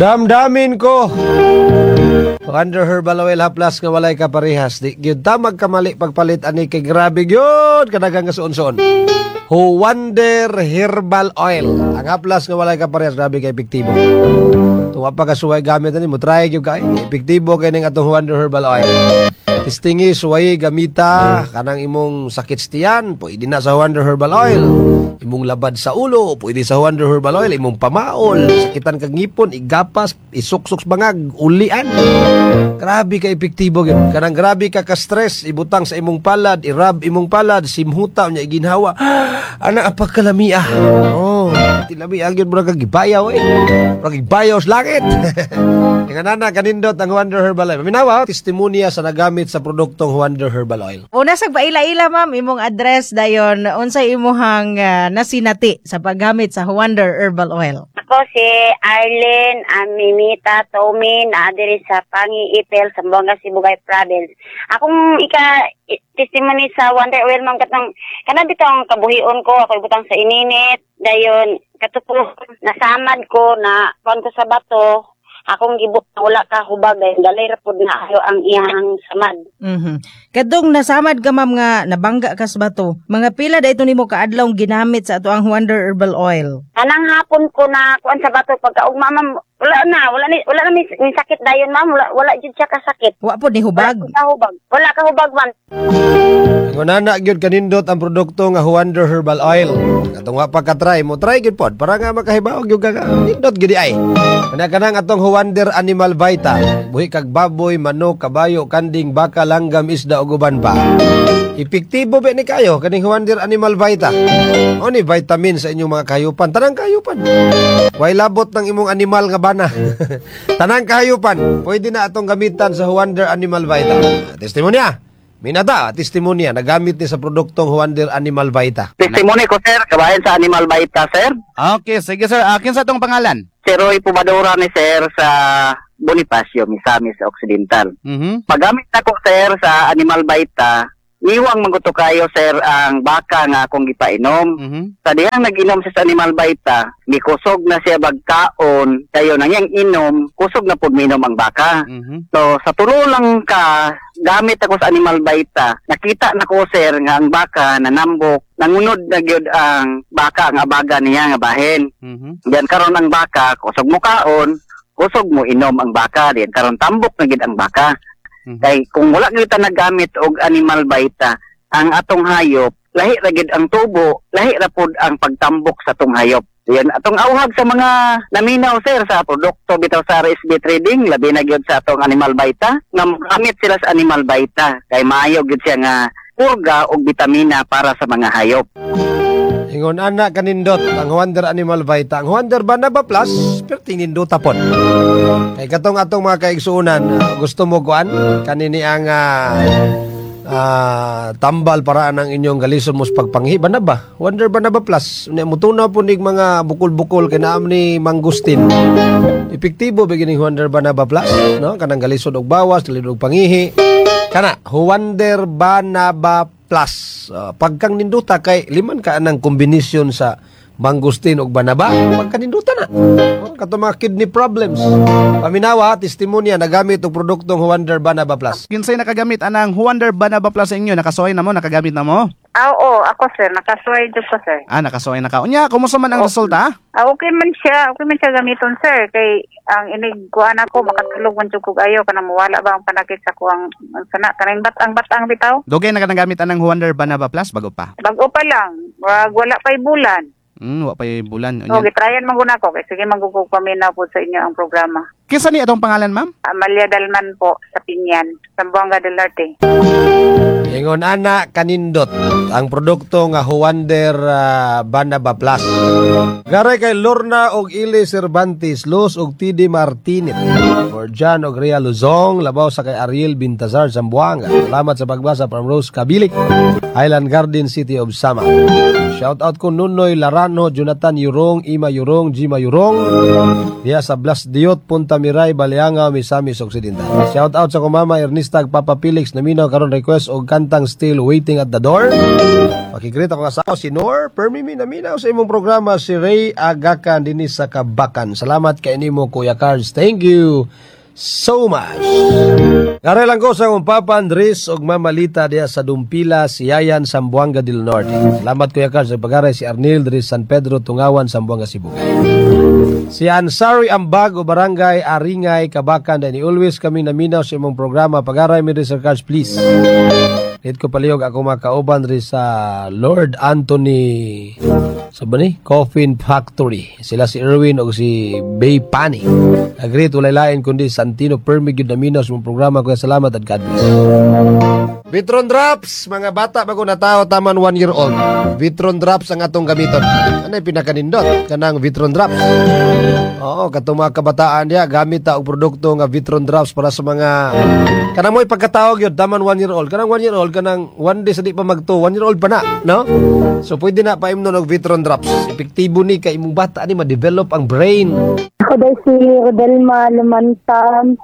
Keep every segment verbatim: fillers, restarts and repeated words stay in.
Damdamin ko. Wonder Herbal Oil haplas nga walay kaparehas. Di gyud ta magkamali pagpalit ani kay grabe gyud kadaghang nga suon-suon. Wonder Herbal Oil. Ang haplas nga walay kaparehas, grabe kay epektibo. Tuwa pa ka suway gamit ani mo, try gyud kay epektibo kay ning atong Wonder Herbal Oil. Testingi, suway, gamita kanang imong sakit sa tiyan, pwede na sa Wonder Herbal Oil. Imong labad sa ulo, pwede sa Wonder Herbal Oil. Imong pamaol, sakitan kag ngipon, igapas, isuksok sa bangag, ulian. Grabe ka epektibo gyud. Kanang grabe ka ka-stress, ibutang sa imong palad, i-rub imong palad, simhuta nya iginhawa. Ana ang pagkalamia. Oh, tilamia gyud, murag kag gibayaw eh. Murag gibayaw sa langit. Nga nana kanindot ang Wonder Herbal Oil. Maminawa, testimonya sa nagamit sa produktong Wonder Herbal Oil. Una sa paila-ila, ma'am, imong address, dayon unsay imuhang ah, nasinati sa paggamit sa Wonder Herbal Oil? Ako si Arlene Amimita Tomi na diri sa Pangi Ipil, Zamboanga Sibugay Province. Akong ika i- testimony sa Wonder Oil, ma'am, katong kanang bitong kabuhion ko, ako ibutang sa ininit, dayon katupo nasamad ko na kuan ko sa bato, akong gibutang wala ka hubag, dayon dalay ra pud na ayo ang iyang samad. Mhm. Kadtong nasamad ka, ma'am, nga nabangga ka sa bato, mga pila da ito nimo kaadlaw ginamit sa ato ang Wonder Herbal Oil? Kanang hapon ko na kuan sa bato, pagkaugma, ma'am, wala na, wala ni wala na mi, mi sakit dayon, ma'am, wala wala jud siya kasakit. Wa po ni hubag? Wala ka hubag. Wala ka hubag, ma'am. Ngunana gyud kanindot ang produkto nga Wonder Herbal Oil. Katong wa pa ka-try mo, try gyud pod para nga makahibaw gyud ka nga nindot gyud ay. Kana kanang atong Wonder Animal Vita. Buhi kag baboy, manok, kabayo, kanding, baka, langgam, isda ug uban pa. Epektibo ba ni kayo kaning Wonder Animal Vita? O ni vitamin sa inyong mga kahayupan, tanang kahayupan. Way labot ng imong animal nga bana. Tanang kahayupan, pwede na atong gamitan sa Wonder Animal Vita. Testimonya. Minata, testimonya, nagamit ni sa produktong Wonder Animal Vita. Testimony ko, sir, kabahin sa Animal Vita, sir. Okay, sige, sir. Akin sa atong pangalan? Si Roy Pubadora ni, sir, sa Bonifacio, Misamis Occidental. Mhm. Paggamit ako, sir, sa Animal Vita, iwang man gud to kayo, sir, ang baka nga akong gipainom. Mhm. Sa dihang nag-inom siya sa Animal Vita, mikusog na siya bagkaon, kayo nang iyang inom, kusog na pud minom ang baka. Mhm. So, sa tulo lang ka, gamit ako sa Animal Vita, nakita na ko, sir, nga ang baka nanambok, nangunod na gyud ang baka, ang abaga niya nga bahin. Mhm. Diyan karon ang baka, kusog mo kaon, kusog mo inom ang baka, diyan karon tambok na gid ang baka. Mhm. Kay kung wala gyud ta naggamit og Animal Vita, ang atong hayop, lahi ra gid ang tubo, lahi ra pud ang pagtambok sa atong hayop. Yan atong auhag sa mga naminaw, sir, sa produkto bitaw sa R S B Trading, labi na gyud sa atong Animal Vita, nga mogamit sila sa Animal Vita kay maayo gyud siya nga purga og bitamina para sa mga hayop. Ingon ana kanindot ang Wonder Animal Vita. Ang Wonder Banaba Plus, pero tinindota pod. Kay katong atong mga kaigsuonan, ah, gusto mo kuan kanini ang ah, ah, tambal para ang inyong galison mo sa pagpanghi banaba. Wonder Banaba Plus. Unya mutunaw po nig mga bukol-bukol kay naam ni mangustin. Epektibo ba gining Wonder Banaba Plus, no? Kanang galisod og bawas, galisod og pangihi. Kana Wonder Banaba Plus. Uh, pagkang ninduta kay liman ka anang kombinasyon sa mangustin og banaba, pagkaninduta na. Oh, kato mga kidney problems. Paminawa, testimonya nagamit og produktong Wonder Banaba Plus. Kinsay nakagamit anang Wonder Banaba Plus sa inyo? Nakasuway na mo? Nakagamit na mo? Ah, oo, ako, sir, nakasuway jud ko, sir. Ah, nakasuway na ka. Unya, kumusta man ang resulta? Ah, okay man siya, okay man siya gamiton, sir, kay ang inig kuan ako makatulog man jud kog ayo, kanang mawala ba ang panakit sa kuang ang sana kanang batang batang bitaw. Dugay na ka nagamit anang Wonder Banaba Plus? Bago pa? Bago pa lang, wag wala pa'y bulan. Hmm, wa pa yung bulan. O, Unya. gitryan man gud ako kay sige man gud kog paminaw po sa inyo ang programa. Kinsa ni atong pangalan, ma'am? Amalia Dalman po sa Pinyan, Zamboanga del Norte. Ingon ana kanindot ang produkto nga Wonder ah, Banaba Plus. Garay kay Lorna og Ili Cervantes, Luz og T D Martinez, for John og Ria Luzong, labaw sa kay Ariel Bintazar, Zamboanga. Salamat sa pagbasa from Rose Kabilik, Island Garden, City of Sama. Shout out ko Nunoy Larano, Jonathan Yurong, Ima Yurong, Jima Yurong. Diya sa Blas Diot, Punta Miray, Balianga, Misamis Occidental. Shout out sa akong mama Ernesta ug Papa Felix, naminaw karon, request og kantang "Still Waiting at the Door". Paki-greet akong asawa si Nor, permi mi naminaw sa imong programa, si Ray Agakan dinhi sa Kabakan. Salamat kay nimo, Kuya Cards. Thank you so much. Kare lang ko sa akong Papa Andres ug Mama Lita diya sa Dumpila, Siayan, Zamboanga del Norte. Salamat, Kuya Cards. Sa pagaray si Arnil diri San Pedro, Tungawan, Zamboanga, Sibugay. Si Ansari Ambag o Barangay Aringay, Kabakan, dahil always kami naminaw sa imong programa. Pagaray mi diri, Sir Cards, please. Dito ko palihog ako makauban diri sa Lord Anthony sa ba ni? Coffin Factory. Sila si Erwin o si Bay Pani. Agree, walay lain kundi Santino, permi gyud naminaw sa imong programa. Kuya, salamat at God bless. Vitron Drops, mga bata bago natao taman one year old. Vitron Drops ang atong gamiton. Ano yung pinakanindot? Kanang Vitron Drops. Oo, katong mga kabataan diya, gamit ta og produkto nga Vitron Drops para sa mga kanang mo'y pagkatawag yun, taman one year old. Kanang one year old, kanang one day sa di pa magto, one year old pa na, no? So pwede na paimnon og Vitron Drops. Epektibo ni kay imong bata ni ma-develop ang brain. Ako daw si Rodelma Lumantam,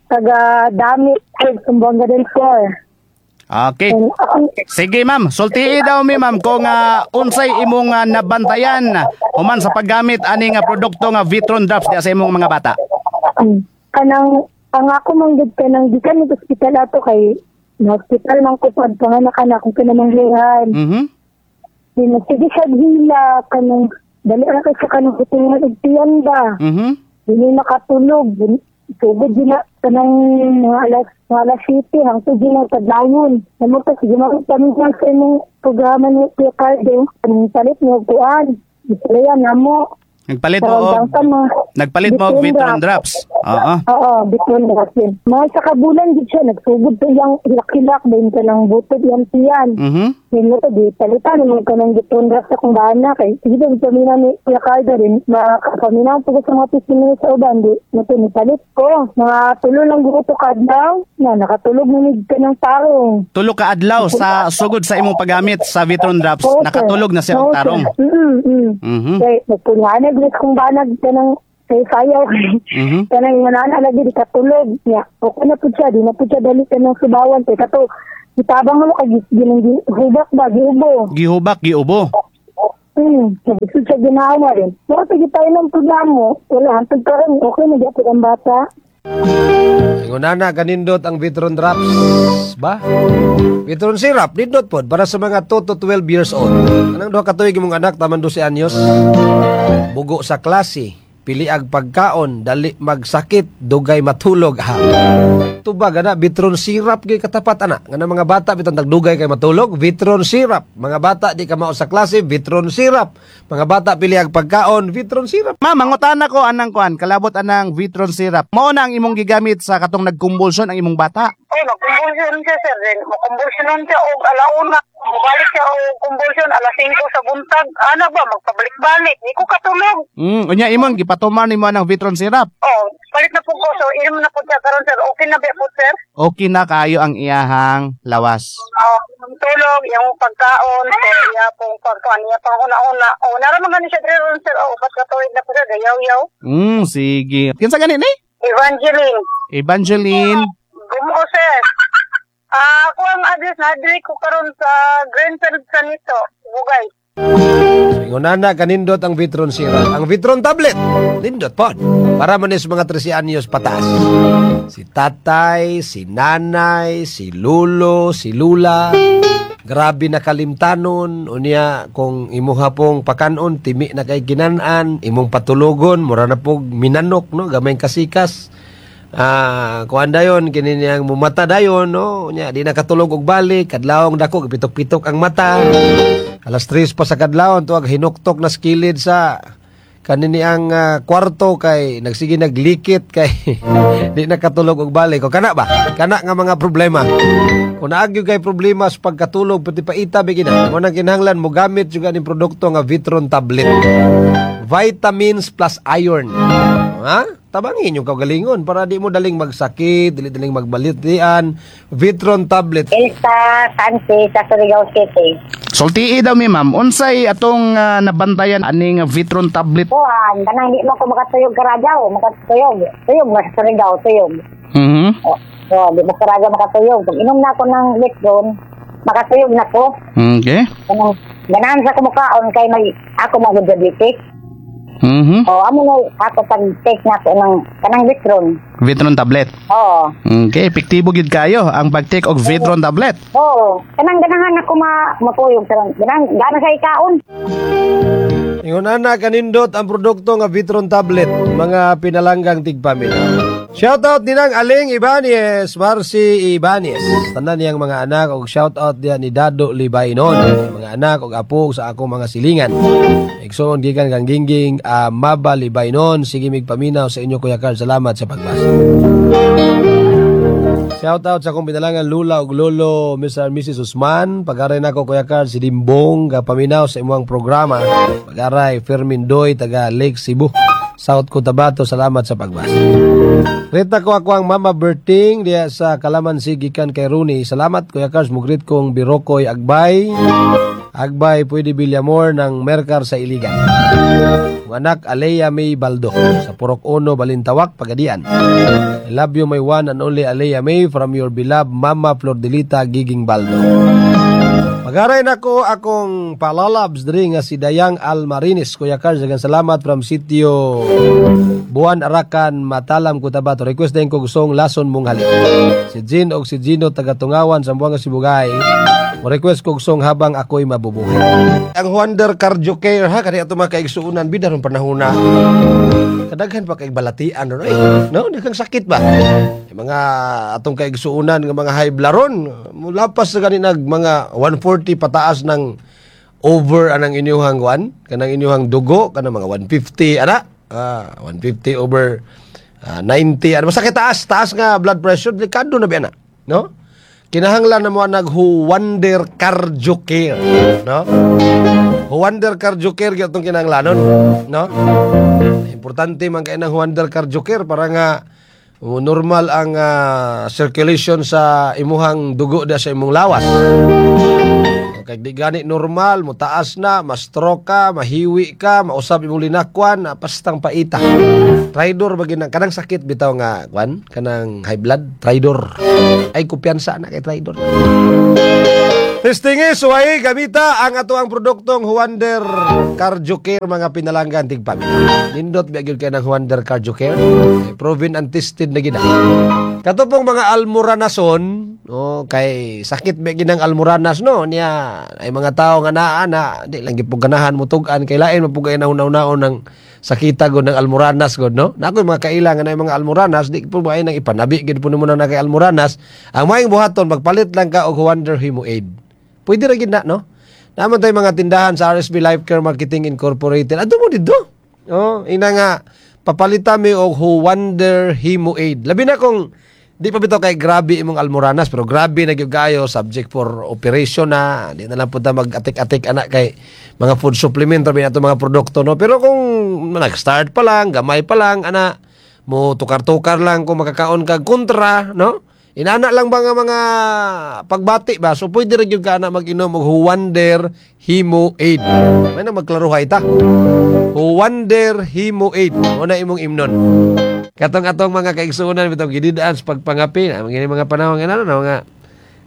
taga Damit, Zamboanga del Sur. Okay. And akong Sige, ma'am, sultii daw mi, ma'am, kung uh, unsay imong uh, nabantayan human sa paggamit ani nga produkto nga Vitron Drops diya sa imong mga bata. um, kanang ang ako man gud, kanang gikan ng ospital ato kay na hospital man ko pag panganak na akong kinamanghihan. Mhm. Di sige siya hila, kanang dali ra kay sa kanang butingan og tiyan ba. Mhm. Di nakatulog. Sugod din na kanang mga alas mga alas siyete hangtod din ang kadlawon. Namo ta sige makita mi sa imong programa ni Kuya Cardo. Kanang palit mo kuan. Istorya namo. Nagpalit mo og nagpalit mo og Vitron Drops. Oo. Oo, Vitron Drops yun. Mga sa kabulan gid siya, nagsugod to yung hilak-hilak, din ka ng butod yung tiyan. Mhm. Yun mo to, di palitan naman ka ng Vitron Drops akong bana. Kay, sige doon kami na ni Kuya Cardo rin, makapaminaw po ko sa mga testimony sa uban, di, mo to, nipalit ko. Mga tulo lang gusto kadlaw, na nakatulog na mig ka ng tarong. Tulo ka adlaw sa sugod sa imong paggamit sa Vitron Drops, Oo, sir. Nakatulog na siya og Oo, sir. tarong. Mm, mm. Mhm. Kay, nagpulhanag rin kung banag ka ng kay sayaw. Mhm. Kanang manana lagi di katulog. Ya, okay na po siya, di na po siya dali ka ng subawan. Kay kato, itabang mo kay ginang hubak ba, giubo. Gihubak, giubo. Hmm, gusto siya ginawa rin. Pero sige tayo ng programo, wala, hantod ka rin, okay na gyapon ang bata. Ingon na kanindot ang Vitron Drops ba? Vitron syrup nindot pod para sa mga two to twelve years old. Anong duha ka tuig imong anak taman dose anyos? Bugo sa klase, piliag pagkaon, dali magsakit, dugay matulog ha. Tubag ana, Vitron syrup gyud katapat ana. Nga mga bata bitong tagdugay kay matulog, Vitron syrup. Mga bata di ka mao sa klase, Vitron syrup. Mga bata piliag pagkaon, Vitron syrup. Ma'am, mangutana ko anang kuan, kalabot anang Vitron syrup. Mao na ang imong gigamit sa katong nagkumbulsyon ang imong bata? Oh, nagkumbulsyon siya, sir. Then, makumbulsyon siya og alauna. Mubalik siya og kumbulsyon alas singko sa buntag. Ana ba, magpabalik-balik. Di ko katulog. Mm, unya imong gipatuman nimo anang Vitron syrup? Oh, palit na po ko. So, inom na po siya karon, sir. Okay na ba po, sir? Okay na kayo ang iyahang lawas. Oh, ang tulog, iyang pagkaon, so iya pong pagkaon, iya pang una-una. Oh, naraman gani siya diri ron, sir. Oh, upat ka tuig na po siya, gayaw-yaw. Mm, sige. Kinsa gani ni? Evangeline. Evangeline. Gumo, sir. Ah, ako ang address na diri ko karon sa Greenfield Sanito, Bugay. Ingon na kanindot ang Vitron syrup. Ang Vitron tablet, nindot pod. Para man is mga trese anyos pataas. Si tatay, si nanay, si lulo, si lula. Grabe na kalimtanon. Unya, kung imuha pong pakanon, timi na kay ginanan, imong patulogon, mura na pog minanok, no? Gamay kasikas. Ah, kuan dayon kini niyang mumata dayon, no? Unya di na katulog og balik, kadlawong dako pitok-pitok ang mata. Alas tres pa sa kadlawon tuwag hinuktok na skilid sa kanini ang ah, kwarto kay nagsige naglikit kay di na katulog og balik. O kana ba? Kana nga mga problema. Kung naa gyud kay problema sa pagkatulog, pati paita bigina. Mo nang kinahanglan mo gamit juga ning produkto nga Vitron tablet. Vitamins plus iron. Ha? Tabangin yung kaugalingon para di mo daling magsakit, dili daling magbalitian. Vitron tablet. Elsa Sanchez sa Surigao City. Sultii daw mi, ma'am, unsay atong ah, nabantayan aning Vitron tablet? Kuan, kanang di mo ko makatuyog karajaw, makatuyog. Tuyog ba sa Surigao, tuyog. Mhm. O, oh, di mo karajaw makatuyog. Pag inom na ako ng Vitron, makatuyog na ko. Okay. Kanang ganahan sa kumukaon kay may ako mo diabetes. Mhm. O, amo na ako pag take na ko ng kanang Vitron. Vitron tablet. Oo. Okay, epektibo gid kayo ang pag-take og Vitron tablet. Oo. Kanang ganahan ako ma matuyog sa ganahan gana sa ikaon. Ingon ana kanindot ang produkto nga Vitron tablet, mga pinalanggang tigpamilya. Shoutout ninang Aling Ibanez, Marcy Ibanez. Tanan niyang mga anak og shoutout diyan ni Dado Libaynon. Mga anak og apo sa akong mga silingan. Igsoon gikan kang Gingging uh, Maba Libaynon. Sige mig paminaw sa inyo, Kuya Carl. Salamat sa pagbasa. Shoutout sa akong pinalangan Lula ug Lolo, Mister and Missus Usman. Pagaray nako, Kuya Carl, si Dimbong gapaminaw sa imong programa. Pagaray Fermin Doy taga Lake Cebu, South Cotabato. Salamat sa pagbasa. Rita ko ako ang Mama Berting diya sa Kalamansi gikan kay Rooney. Salamat, Kuya Carl, mugrit kong Birokoy Agbay. Agbay pwede Villamor ng Mercar sa Iligan. Ang anak Alea May Baldo sa Purok Uno, Balintawak, Pagadian. I love you, my one and only Alea May, from your beloved Mama Flordelita Giging Baldo. Pagaray nako akong palalabs diri nga si Dayang Almarinis. Kuya Carl, daghang salamat from Sitio Buwan Arakan, Matalam, Cotabato. Request din ko gustong Lason Mong Halik. Si Jean og si Gino taga Tungawan, Zamboanga Sibugay. Mo request ko gustong Habang Ako'y Mabubuhay. Ang Wonder Cardio Care ha, kani ato mga kaigsuonan, bida ron panahona. Kadaghan pa kay balatian ron eh. No, daghang sakit ba? Yung mga atong kaigsuonan nga mga high blood ron, mulapas sa gani nag mga one forty pataas ng over anang inyuhang kuan, kanang inyuhang dugo, kanang mga one fifty ana. Ah, one fifty over ah, ninety ano, masakit, taas, taas nga blood pressure, delikado na biya na, no? Kinahanglan na mo nag Wonder Cardio Care, no? Wonder Cardio Care gyud atong kinahanglanon, no? Importante man kay ng Wonder Cardio Care para nga uh, normal ang ah, circulation sa imuhang dugo da sa imong lawas. Kay di gani normal, mo taas na, ma-stroke ka, mahiwi ka, mausab imong linakwan, na pastang paita. Traidor ba ginang kanang sakit bitaw nga kwan, kanang high blood, traidor. Ay, kumpiyansa na kay traidor. Testingi, suway, gamita ang ato ang produktong Huander Cardio Care, mga pinalanggan tigpamilya. Nindot biya gyud kay ng Huander Cardio Care. Eh, proven and tested na gina. Kato pong mga almuranason, oh, kay sakit biya ginang almuranas, no, niya ay mga tao nga naa na di lang gipong ganahan mo tug-an kay lain mapugay na hunaw-hunaon ng sakita gud ng almuranas gud, no. Na ako'y mga kaila nga na mga almuranas, di po ba ay nang ipanabi gid po nimo na kay almuranas. Ang maayong buhaton, magpalit lang ka og Wonder Hemo Aid. Pwede ra gid na, no? Naman tayo mga tindahan sa R S B Life Care Marketing Incorporated. Adto mo didto. Oh, ina nga papalitan mi og Wonder Hemo Aid. Labi na kung di pa bitaw kay grabe imong almoranas, pero grabe na gyud kayo, subject for operation na, di na lang punta mag-atik-atik ana kay mga food supplement ra ato mga produkto, no? Pero kung nag-start pa lang, gamay pa lang ana, mo tukar-tukar lang kung makakaon kag kontra, no? Inana lang ba nga mga pagbati ba? So pwede ra gyud ka na mag-inom og Huwander Hemo Aid. May na magklaruhay ta. Huwander Hemo Aid. Mo na imong imnon. Katong atong mga kaigsuonan bitong gididaan sa pagpangapi, na mga mga panahon nga ano na mga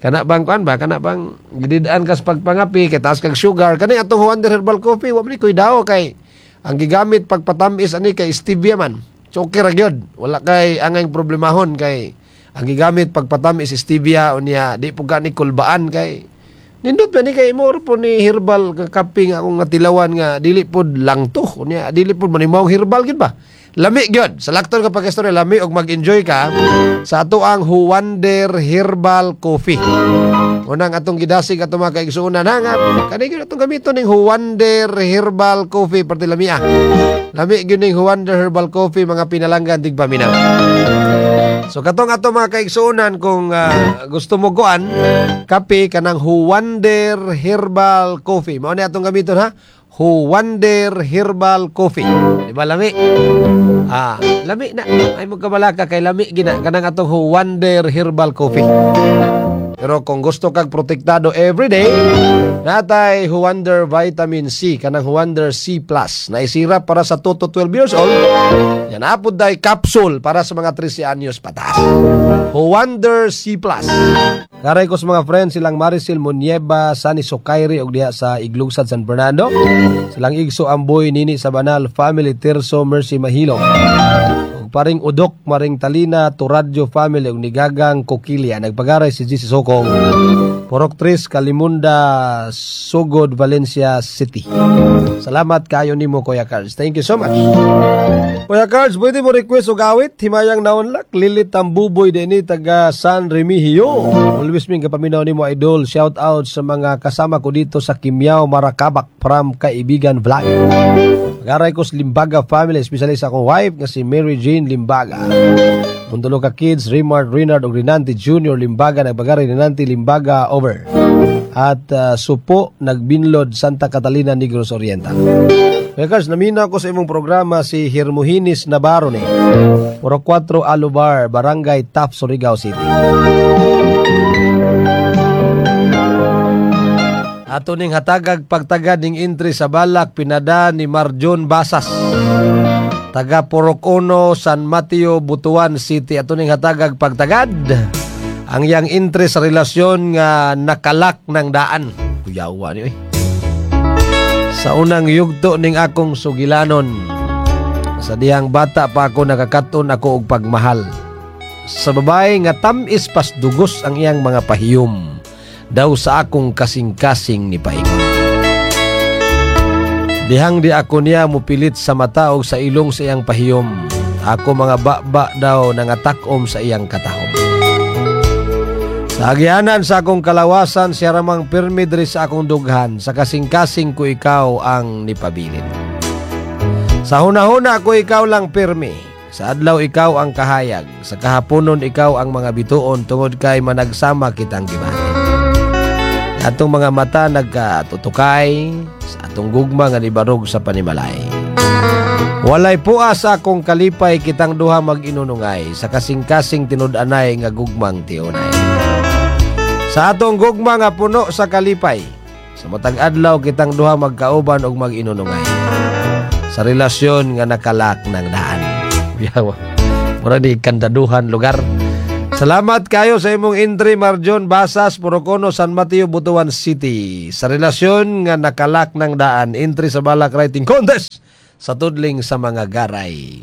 kana bang kuan ba, kana bang gididaan ka sa pagpangapi kay taas kag sugar, kani atong Huwander Herbal Coffee wa man ni daw kay ang gigamit pagpatamis ani kay stevia man. So okay ra gyud. Wala kay angay problemahon kay ang gigamit pagpatamis stevia, unya di po gani kulbaan kay nindot ba ni kay mo po ni herbal nga kape nga akong natilawan nga dili pod lang to, unya dili pod manimaw herbal gid ba. Lami gyud. Sa lakton ka pag-istorya, lami og mag-enjoy ka sa ato ang Huwander Herbal Coffee. Unang atong gidasig atong mga kaigsuonan ha nga kani gyud atong gamiton ning Huwander Herbal Coffee, parte lami ah. Lami gyud ning Huwander Herbal Coffee, mga pinalanggan tigpaminaw. So katong ato mga kaigsuonan, kung ah, gusto mo kuan kape, kanang Huwander Herbal Coffee. Mao ni atong gamiton ha. Huwander Herbal Coffee. Di ba lami? Ah, lami na. Ay mo kabalaka kay lami gina kanang atong Huwander Herbal Coffee. Pero kung gusto kag protektado everyday, natay Huwander Vitamin C, kanang Huwander C plus na isira para sa two to twelve years old. Yan apod day capsule para sa mga thirteen anyos pataas. Huwander C plus. Karay ko sa mga friends, silang Maricel Munieva, Sani Sukairi og diha sa Iglugsad, San Fernando. Silang Igso Amboy Nini sa Banal Family Tirso Mercy Mahilong. Ug paring Udok Maring Talina Turadyo Family ug Nigagang Kokilya. Nagpagaray si G C Sokong. Purok Tris, Kalimunda, Sugod, Valencia City. Salamat kayo nimo, Kuya Carls. Thank you so much. Kuya Carls, pwede mo request og awit, "Himayang Naunlak", Lilit Tambuboy dinhi taga San Remigio. Always ming kapaminaw nimo, idol. Shout out sa mga kasama ko dito sa Kimyao, Marakabak from Kaibigan Vlog. Garay ko sa Limbaga family, especially sa akong wife nga si Mary Jane Limbaga. Mundulo ka kids, Rimard, Renard ug Rinanti Junior Limbaga, nagbagari Rinanti Limbaga, over. At uh, Supo, Nagbinlod, Santa Catalina, Negros Oriental. Kuya Cars, naminaw ko sa imong programa, si Hermohinis Navarro ni. Puro kwatro Alubar, Barangay Tap, Surigao City. Ato ning hatagag pagtagad ning entry sa balak pinada ni Marjon Basas. Taga Purok Uno, San Mateo, Butuan City. Ato ning hatagag pagtagad. Ang yang entry sa relasyon nga nakalak ng daan. Kuyawa ni oy. Sa unang yugto ning akong sugilanon. Sa dihang bata pa ako, nakakaton ako og pagmahal. Sa babae nga tamis pasdugos ang iyang mga pahiyom. Daw sa akong kasing-kasing ni paingon. Dihang di ako niya mupilit sa mata o sa ilong sa iyang pahiyom. Ako mga baba daw nangatakom sa iyang katahom. Sa agianan sa akong kalawasan, siya ramang pirmi diri sa akong dughan. Sa kasing-kasing ko ikaw ang nipabilin. Sa hunahuna ko ikaw lang pirmi. Sa adlaw ikaw ang kahayag. Sa kahaponon ikaw ang mga bituon tungod kay managsama kitang gibahin. Atong mga mata nagkatutukay sa atong gugma nga nibarog sa panimalay. Walay pua sa akong kalipay, kitang duha mag-inunungay sa kasing-kasing tinud-anay nga gugmang tiunay. Sa atong gugma nga puno sa kalipay, sa matag adlaw kitang duha magkauban og mag-inunungay. Sa relasyon nga nakalak ng daan. Yawa. Mura di kandaduhan lugar. Salamat kayo sa imong entry, Marjon Basas, Purocono, San Mateo, Butuan City. Sa relasyon nga nakalak ng daan, entry sa Balak Writing Contest sa tudling sa mga garay.